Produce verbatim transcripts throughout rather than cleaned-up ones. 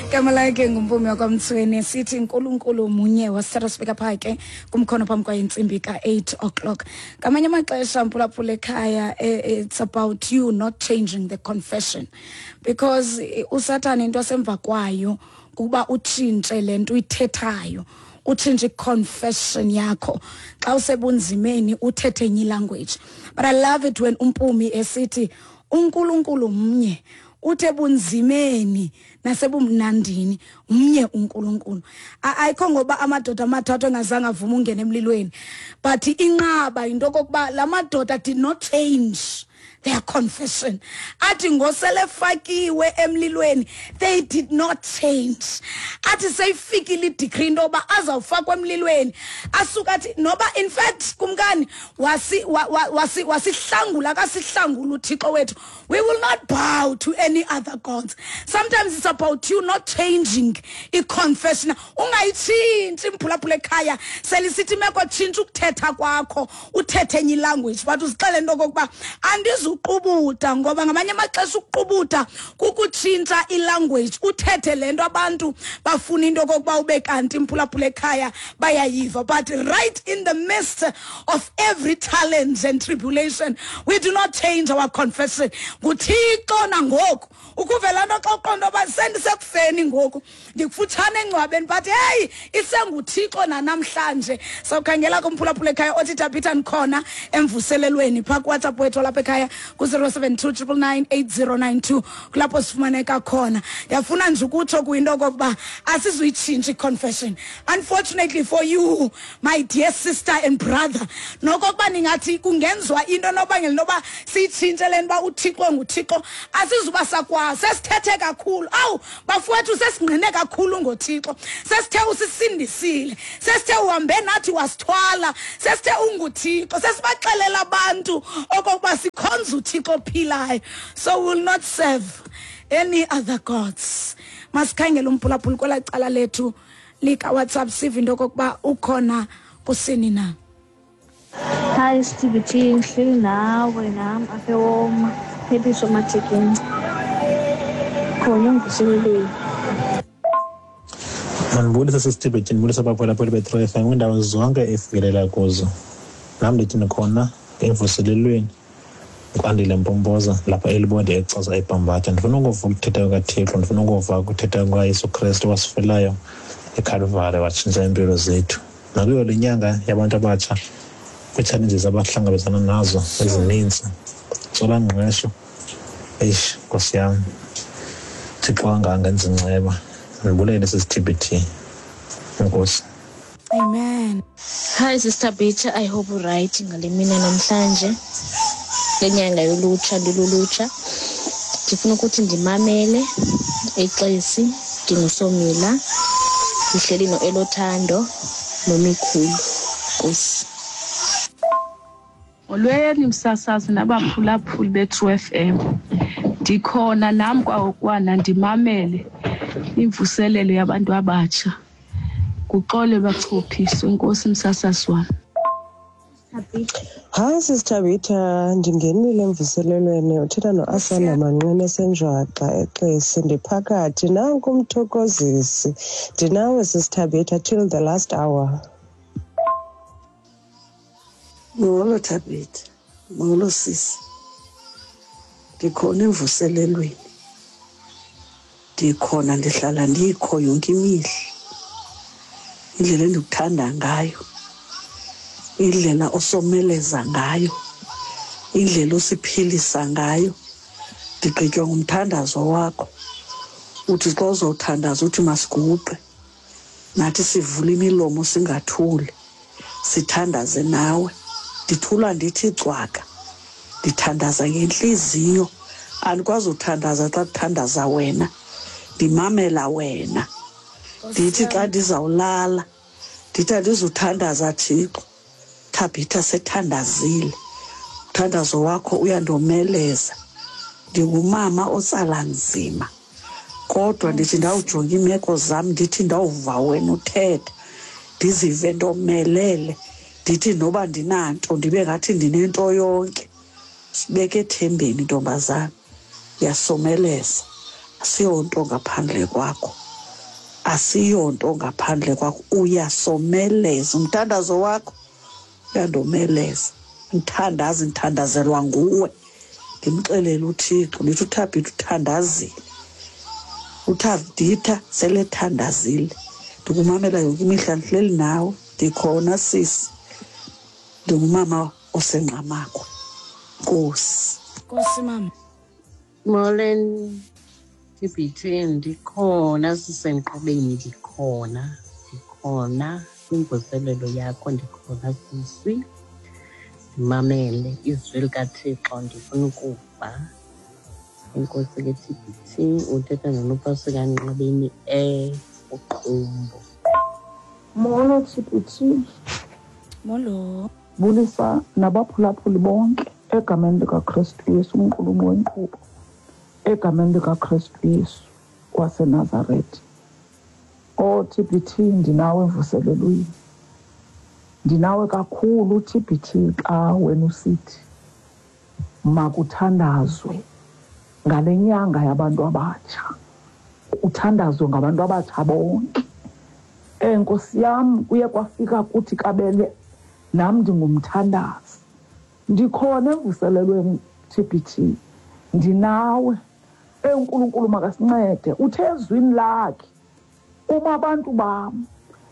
Igama lakhe nguMpumi wakwaMtsweni, sithi Nkulunkulu munye. Wasithatha sibeka phaa ke kumkhono phambi kwayo intsimbi ka-eight o'clock. Ngamanye amaxesha, mphulaphula ekhaya, eh, it's about you not changing the confession, because eh, usathane into asemva kwayo kukuba utshintshe le nto uyithethayo, utshintshe i-confession yakho. Xa usebunzimeni uthethe enye language. But I love it when uMpumi esithi uNkulunkulu mnye, uthe ebunzimeni nasebumnandini mnye uNkulunkulu. A- ayikho ngoba amadoda amathathu engazange avuma ungena emlilweni, but inqaba into okokuba la madoda did not change their confession. Athi ngosele fakiwe emlilweni, they did not change. Athi seyifikile i-decree into yoba azawufakwa emlilweni, asuka athi noba, in fact, kumkani wasi wa- wa- wasi wasihlangula kasihlangula uThixo wethu, we will not bow to any other gods. Sometimes it's about you not changing i-confession. Ungayitshintshi, imphulaphula ekhaya. Selisithi imeko, tshintsha ukuthetha kwakho, uthethe enye ilanguage, but uzixele into okokuba andizuqubuda, ngoba ngamanye amaxesha ukuqubuda kukutshintsha ilanguage, uthethe le nto abantu bafuna into okokuba ube kanti, imphulaphula ekhaya, bayayiva. But right in the midst of every challenge and tribulation, we do not change our confession. NguThixo nangoku ukuvela nto xa uqonda uba sendisekufeni ngoku, ndikufutshane engcwabeni, but heyi, isenguThixo nanamhlanje. Sawukhangela kumphulaphula ekhaya othi, "Tabitha, ndikhona emvuselelweni," phaa kuWhatsApp wethu lapha ekhaya ku-zero seven two nine nine nine eight zero nine two, kulapho sifumaneka khona. Ndiyafuna nje ukutsho kuyinto okokuba asizuyitshintsha i-confession. Unfortunately for you, my dear sister and brother, nokokuba ningathi kungenziwa into nobangela intoba siyitshintshe le nto uba uThixo nguThixo, asizuba sakwazi. Sesithethe kakhulu, awu bafowethu, sesingqine kakhulu ngoThixo. Sesithe usisindisile, sesithe uhambe nathi wasithwala, sesithe unguThixo, sesibaxelela abantu okokuba sikhonza uThixo ophilayo, so we will not serve any other gods. Masikhangele umphulaphuli kwelaa cala lethu likaWhatsApp, sive into okokuba ukhona kusini na. Hi Stevie T, ngihleli nawe nam apha eWoma, phephiso Mathekeni, khona emvuselelweni. Mandibulise, sisiThibhethi, ndibulise abaphulaphuli be-True F M kwiindawo zonke efikelela kuzo. Nam ndithi ndikhona emvuselelweni. Kwandile Mpompoza lapha eLibode eXhosa eBhambatha. Ndifuna ukuva ukuthetha kukaThixo, ndifuna ukuva ukuthetha kukaYesu Krestu wasifelayo eKhalvari, watshintsha iimpilo zethu. Nakuyo le nyanga yabantu abatsha, kwii-challenges abahlangabezana nazo ezininzi, ntswelangqesho, eish, nkosi yam, Thixo angangenza inceba. Ndibulele, sisiT B T, enkosi. Amen. Hi Sister Bitha, I hope right ngale mina namhlanje lenyanga yolutsha lilulutsha. Ndifuna ukuthi ndimamele eXesi, ndingusomila, ndihleli noElothando nomikhulu. Nkosi. Molweni msasazi nabaphulaphuli be-True F M. Ndikhona nam kwawokwana ndimamele imvuselelo yabantu abatsha. Kuxole bachophiswe, enkosi msasazi wam. Hayi Sisi Thabitha, ndingenile emvuselelweni. Uthetha noAsanda Manqina esenjwaxa eXesi. Ndiphakathi nanku umthokozisi, ndinawe Sisi Thabitha till the last hour. Molo Thabitha, molo sisi. Ndikhona emvuselelweni. Ndikhona, ndihlala ndikho yonke imihla. Indlela endikuthanda ngayo, indlela osomeleza ngayo, indlela osiphilisa ngayo. Ndigqitywa ngumthandazo wakho. Uthi xa uzothandaza uthi masiguqe. Nathi sivule imilomo singathuli. Sithandaze nawe. Ndithula ndithi cwaka. Ndithandaza ngentliziyo. Andikwazi uthandaza xa kuthandaza wena. Ndimamela wena. Ndithi xa ndizawulala, ndithi andizuthandaza Thixo. Thabitha sethandazile. Umthandazo wakho uyandomeleza. Ndingumama otsala nzima. Kodwa ndithi ndawujonga iimeko zam, ndithi ndawuva wena uthetha, ndizive ndomelele. Ndithi noba ndinanto ndibe ngathi ndinento yonke. Sibeke ethembeni, ntombazana. Uyasomeleza. Asiyonto ngaphandle kwakho. Asiyonto ngaphandle kwakho, uyasomeleza. Umthandazo wakho uyandomeleza. Ndithandaza, ndithandazelwa nguwe. Ndimxelele uThixo, ndithi uThabitha uthandazile, uThabitha selethandazile. Ndikumamela yonke imihla, ndihleli nawe, ndikhona sisi. Ndingumama oseNgqamakwe. Nkosi. Nkosi mama. Molweni T B T, ndikhona sisenkqubeni, ndikhona, ndikhona kwimvuselelo yakho, ndikhona sisi. Ndimamele izwi likaThixo, ndifuna ukuva. Enkosi ke T B T, uthetha noNopasika Nqabeni eUqumbu. Molo T B T. Molo. Bulisa nabaphulaphuli bonke egameni likaKristu Yesu, umqulumi wenkqubo. Egameni likaKristu Yesu waseNazaretha. O T B T, ndinawe emvuselelweni. Ndinawe kakhulu T B T xa wena usithi makuthandazwe ngale nyanga yabantu abatsha. Uthandazwe ngabantu abatsha bonke. Eh Nkosi yam, kuye kwafika kuthi kabele nam ndingumthandazi. Ndikhona emvuselelweni T B T. Ndinawe. ENkulunkulu makasincede. Uthe ezwini lakhe uma abantu bam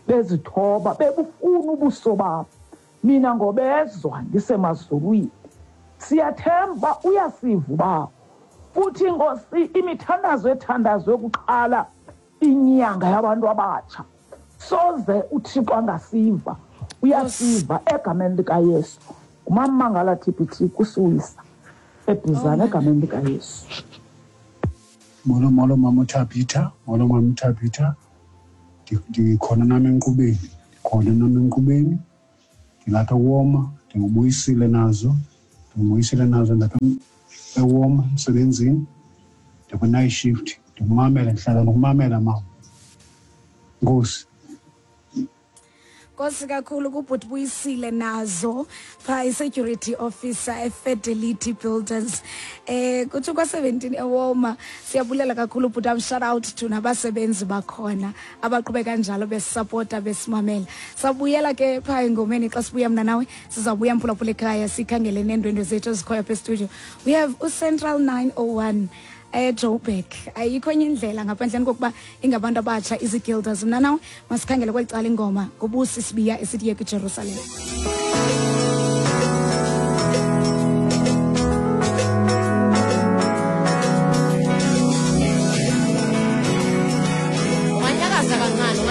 bezithoba bebufuna ubuso bam, mina ngobezwa ndisemazulwini. Siyathemba uyasiva uBawo. Futhi Nkosi, imithandazo ethandazwe kuqala inyanga yabantu abatsha, soze uThixo angasiva. Uyasiva egameni likaYesu. Ngumamangala T B T kusiwisa eBhizana egameni likaYesu. Molo molo mama Thabitha, molo mama Thabitha. Ndikhona nami enkqubeni, ndikhona nami enkqubeni. Ndilapha eWoma, ndingubuyisile nazo, ndingubuyisile nazo ndapha eWoma emsebenzini. Ndikwi-night shift, ndikumamela, ndihlala nokumamela mama. Nkosi. Nkosi kakhulu kubhuti Buyisile nazo phaa i-security officer eFidelity Builders eh kuthi kwa seventeen eWoma. Siyabulela kakhulu bhuti, am shout out to nabasebenzi bakhona abaqhubeka kanjalo besupporta besimamela. Sabuyela ke phaa engomeni xa sibuya mna nawe sizabuya mphulaphula ekhaya sikhangele neendwendwe zethu ezikhoyo apha estudio. We have uCentral nine oh one eJoburg. Ayikho enye indlela ngaphandle kokuba ingabantu abatsha izigilders. Mna nawe masikhangele kweli cala ingoma nguBusi Sibiya esithi yeke Jerusalem. Unganyakaza kancane.